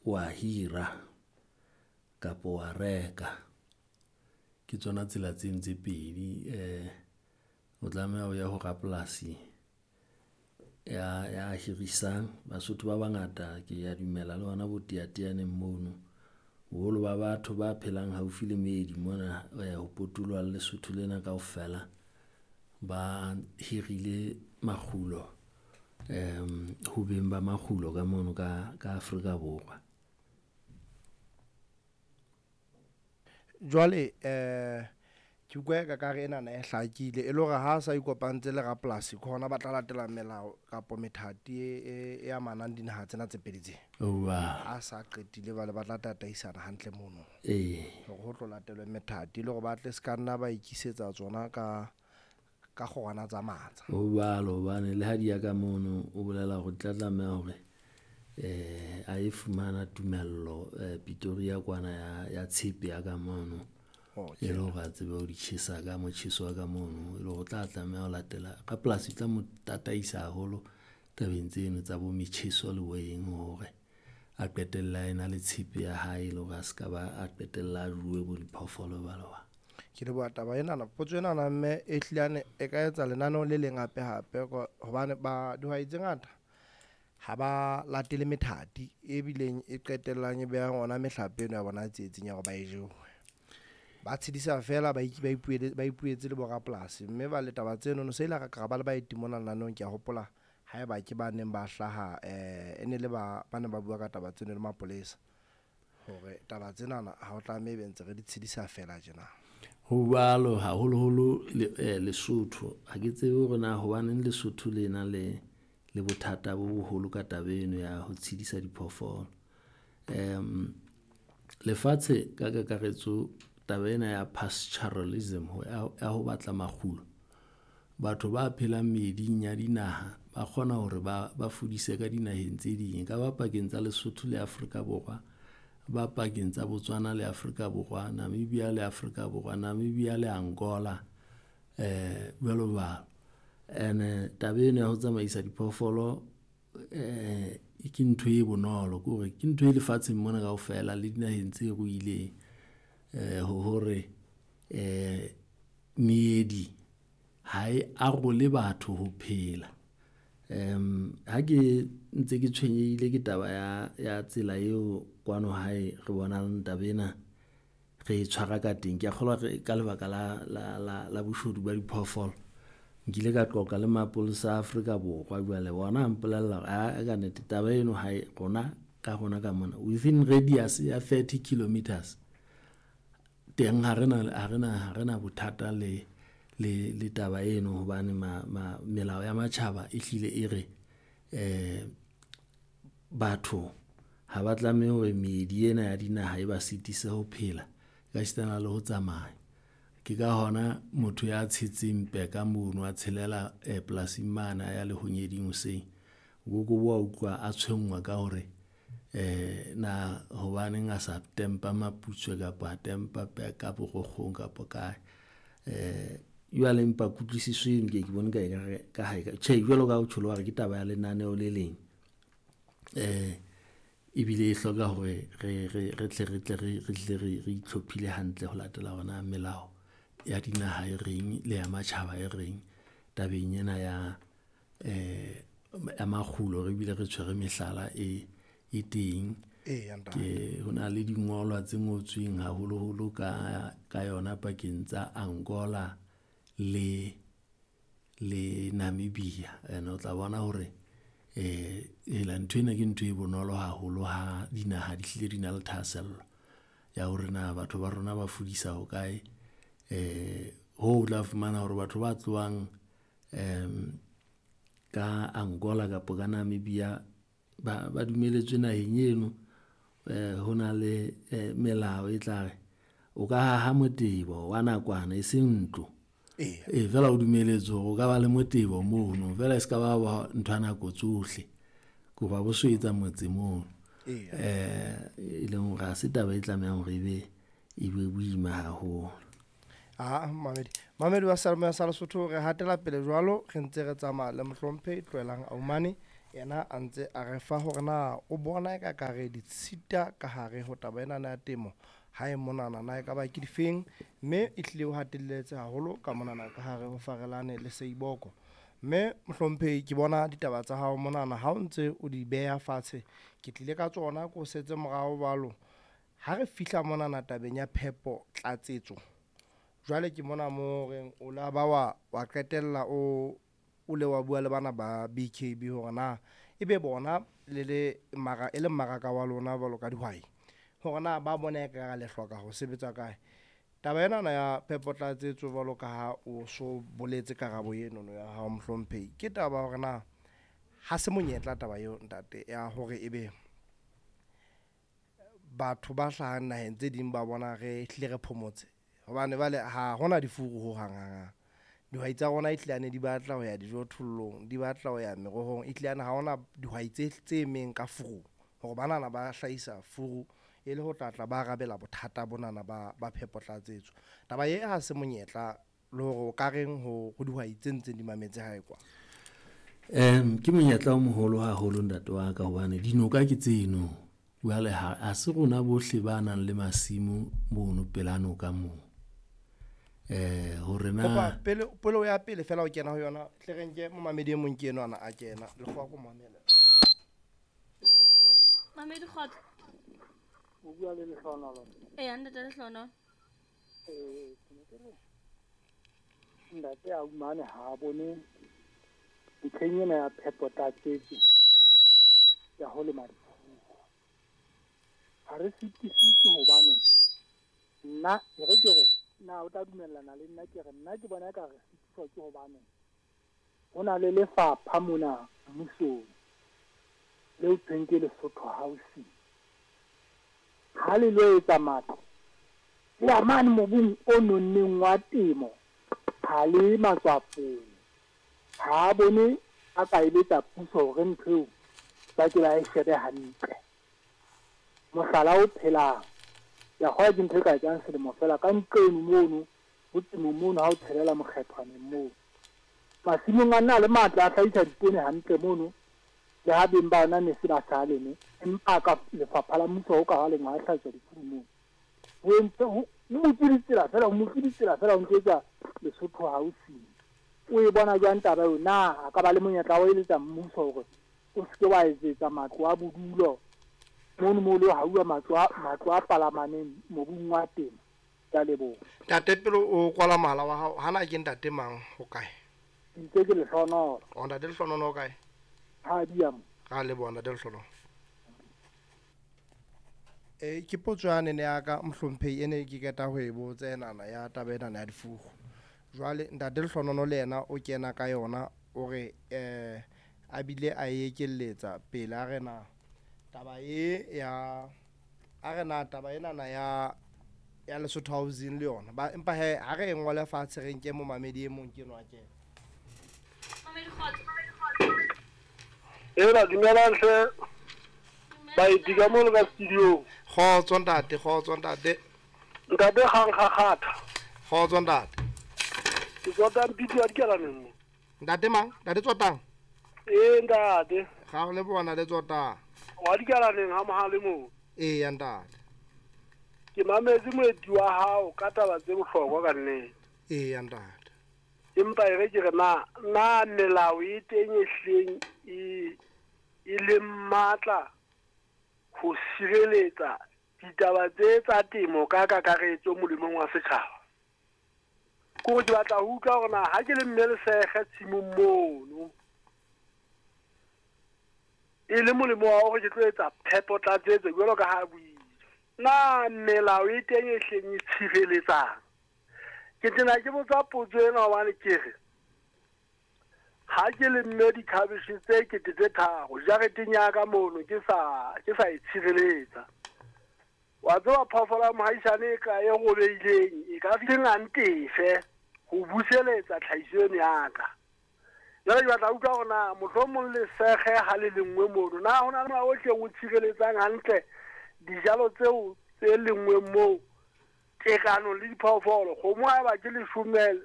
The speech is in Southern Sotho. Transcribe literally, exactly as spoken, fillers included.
Wa hira kapo wa reka. Ke tsona tsela tseno tse pedi o tlameha o ye ho rapolasi ya ya hirisang. Basotho ba bangata ke ya dumela le hona bo Teyateyaneng mono. Boholo ba batho ba phelang haufi le meedi mona ho potoloha le Lesotho lena kaofela, ba hirile makgulo ho beng ba makgulo ka mono ka ka Afrika Borwa. Jwale ke utlwa e ka kare enana e hlakile e le hore ha sa ikopantse le rapolasi ke hona ba tla latela melao kapo methati e, e, e amanang dinaha tsena tse pedi tse. Oa. Ha sa qetile bale ba tla tataisana hantle mono. Ee. Hore ho tlo latelwe methati e le hore ba tle se ka nna ba ikisetsa tsona ka ka kgorwana tsa matsa. Ho jwalo hobane le ha di ya ka mono, o bolela hore di tla tlameha hore eh a e fumana tumello eh Pretoria kwana ya ya tshepe ya ka mono. Okay. E le hore a tsebe ho di tjhesa ka motjheso wa ka mono, e le hore o tla tlameha ho latela rapolasi o tla mo tataisa haholo tabeng tseno tsa bo metjheso le bo eng hore a qetelle a ena le tshepe ya hae, e le hore a ska ba a qetella a jowe bo diphoofolo jwalo jwalo. Ke leboha taba enana, potso enana mme e hlilane e ka etsa lenaneo le leng hape hape hobane ba dihwai tse ngata ha ba latele methati e bileng e qetellang e beha ona mehlape eno ya bona tsietsing ya hore ba e jewe. Ba tshedisa feela ba ba ipuele, ba ipuetse le borapolasi mme ba le taba tseno no se ile ra ka ba le baeti mona lenaneong ke a hopola haeba ke ba neng ba hlaha eh e ne le ba ba neng ba bua ka taba tseno le mapolesa hore taba tsenana ha o tlameha ebe ntse re di tshedisa feela tjena. Ho jwalo haholoholo le eh, Lesotho. Ha ke tsebe hore na hobaneng Lesotho le na le le bothata bo boholo ka taba eno ya ho tshedisa diphoofolo. Lefatshe ka kakaretso taba ena ya pastoralism ya ya ho batla makgulo. Batho ba phelang meeding ya dinaha ba kgona hore ba ba fudise ka dinaheng tse ding. E ka ba pakeng tsa Lesotho le Afrika Borwa, ba pakeng tsa Botswana le Afrika Borwa, Namibia le Afrika Borwa, Namibia le Angola jwalo jwalo. Ene taba eno ya ho tsamaisa diphoofolo ke ntho e bonolo ke hore ke ntho e lefatsheng mona kaofela le dinaheng tse ruileng. Ho hore meedi ha e arole batho ho phela. Ha ke ntse ke tshwenyehile ke taba ya ya tsela eo kwano hae re bonang taba ena re e tshwara ka teng. Ke a kgolwa re ka lebaka la la la la boshodu ba diphoofolo. Nkile ka qoqa le mapolesa a Afrika Borwa jwale ona a mpolella hore aa kannete taba eno ha e rona ka rona ka mona within radius ya thirty kilometers teng ha rena ha rena ha rena bothata le le le taba eno hobane ma ma melao ya matjhaba e hlile e re batho ha ba tlameha hore meedi ena ya dinaha e ba sitise ho phela ka esitana le ho tsamaya. Ke ka hona motho ya tshetseng peka mono a tshelela polasing mane a ya lehonyeding hoseng. O ko wa utlwa a tshwenngwa ka hore na hobaneng a sa tempa Maputswe kapa a tempa peka Borokgong kapa kae. Jwale empa kutlwisiso eno ke ye ke bone ka ekare ka ha tjhe, jwalo ka ha o tjholo wa re ke taba ya lenaneo le leng. Ebile e hloka hore re re re tle re tle re re hle re re itlhophile hantle ho latela hore na melao ya dinaha e reng le ya matjhaba e reng tabeng ena ya ya makgulo, re bile re tshwere mehlala e e teng. Ke ho na le dingolwa tse ngotsweng haholoholo ka ka yona pakeng tsa Angola le le Namibia. Ene o tla bona hore hela nthwena ke ntho e bonolo haholo ha dinaha di hlile di na le thahasello ya hore na batho ba rona ba fudisa hokae. Hoo o tla fumana hore batho ba tlohang ka Angola kapa ka Namibia ba ba dumelletswe naheng eno. Ho na le melao e tla re o ka haha motebo wa nakwana e seng ntlo. Ee. Feela o dumelletswe hore o ka ba le motebo mono feela e ska ba ba ntho ya nako tsohle. Ke hoba bo so etsa motse mono. E leng hore ha se taba e tlamehang hore ebe e be boima haholo. Ah, mamedi. Mamedi wa seyalemoya sa Lesotho, re hatela pele jwalo, re ntse re tsamaya le mohlomphehi Tlohelang Aumane, Yena a ntse a re fa hore na o bona e ka kare ditshita ka hare ho taba ena ya temo ha e monana na e ka ba ke difeng, mme e hlile o hatelletse haholo ka monana ka hare ho Farelane le Seiboko. Mme mohlomphehi ke bona ditaba tsa hao monana ha o ntse o di beha fatshe, ke tlile ka tsona ko setse morao jwalo. Ha re fihla monana tabeng ya phepo tlatsetso, jwale ke mona mo reng o la ba wa wa qetella o o le wa bua le bana ba B K B hore na ebe bona le le mara e le mmaraka wa lona jwalo ka dihwai, hore na ba bona e ka le hloka ho sebetsa kae. Taba ena ya phepo tlatsetso jwalo ka ha o so boletse karabo eno no ya hao mohlomphehi, ke taba hore na ha se monyetla taba eo ntate ya hore ebe batho ba hlahang naheng tse ding ba bona re hlile re phomotse, hobane bale ha hona difuru ho hang hang hang. Dihwai tsa rona e hlile di batla ho ya dijothollong, di batla ho ya merohong, e hlile ha hona dihwai tse tse emeng ka furu hore banana ba hlahisa furu e le ho tla tla ba arabela bothata bonana ba ba phepo tlatsetso. Taba e ha se monyetla le hore o ka reng ho ho dihwai tse ntseng di mametse hae kwa. Um ke monyetla o moholo haholo ntate wa ka hobane dinoka ke tseno. Jwale ha ha se rona bohle ba nang le masimo mono pela noka moo. Eh hore na Kopa pele pele o ya pele fela o kena ho yona, tle re nke momamedi e mong ke enwa ana a kena lekgowa ko mamela. Mamedi kgotso. O bua le Lehlohonolo. Eya ntate Lehlohonolo. Eh, ke ne ke re ntate a umane ha a bone ntlheng ena ya phepo tlatsetso ya ho lema difuru. Ha re sitiswe ke hobane nna e re ke re na o tla dumellana le nna ke re nna ke bona eka re sitiswa ke hobane ho na le lefapha mona mmusong leo thweng ke Lesotho Housing. Ha le lo etsa matlo le ya mane mobung o nonneng wa temo, ha le matswapong. Ha a bone a ka eletsa puso hore ntho eo ba ke ba e shebe hantle. Mohlala o phelang ya kgola ke ntho e ka etsang selemo fela ka nqeno mono ho temo mono ha o tshelela mokgethwaneng moo. Masimong a na le matla a hlahisa dipoone hantle mono, le ha beng ba ona ne se ba sa leme, empa ka lefapha la mmuso ho ka ha lengwa ha hlahiswa difuru moo. Ho entse ho butswe ditsela fela, ho butswe ditsela fela ho ntse etsa Lesotho Housing. O e bona jwang taba eo? Na a ka ba le monyetla wa ho eletsa mmuso hore o se ke wa etsetsa matlo a bodulo mono moo le hauwa matlo a matlo a palamaneng mobung wa temo? Ke a leboha. Ntate pele o kwala mohala wa hao, hana ke ntate mang ho kae? Ntse ke Lehlohonolo. O ntate Lehlohonolo o kae? Ha dia mo. Ra leboha ntate Lehlohonolo. Eh ke potso yane ne ya ka mohlomphehi ene ke qeta ho e botsa enana ya taba ena ya difuru. Jwale ntate Lehlohonolo le yena o kena ka yona o re eh a bile a e ekelletsa pele a re na taba e ya a re na taba enana ya ya Lesotho Housing le yona ba empa he ha re e ngole fatshe re nke momamedi e mong ke enwa kena. Mamedi kgotso. Ela dumelang hle baeti ka mono ka studio. Kgotso ntate, kgotso ntate. Ntate Kgang Kgakgatha. Kgotso ntate. Ke Tsotang Piti wa Dikalaneng mo. Ntate mang? Ntate Tsotang? Ee ntate. Ga o le bona le Tsotang. Wa Dikalaneng ha mohale moo. Ee ntate. Ke mametse moeti wa hao ka taba tse bohlokwa ka nnete. Ee ntate. Empa e re ke re na na melao e teng e hleng e e le matla ho sireletsa ditaba tse tsa temo ka kakaretso molemong wa setjhaba. Ko ke batla ho utlwa hore na ha ke le mme lesege tshimong mono e le molemo wa hore ke tlo etsa phepo tlatsetso jwalo ka ha buile. Na melao e teng e hleng e tshireletsang? Ke tena ke botsa potso ena hobane ke re ha ke lemme dikhabeshe tse kete tse tharo jareteng ya ka mono ke sa ke sa e tshireletsa. Wa tseba phoofolo ya mohaisane e ka e robeileng e ka fihleng a ntefe ho buseletsa tlhahiso eno ya ka. Jwale ke batla ho utlwa hore na mohlomong lesege ha le lengwe mono na ho na le molao o hleng o tshireletsang hantle dijalo tseo tse lengweng moo tekanong le diphoofolo. Kgomo ha eba ke leshome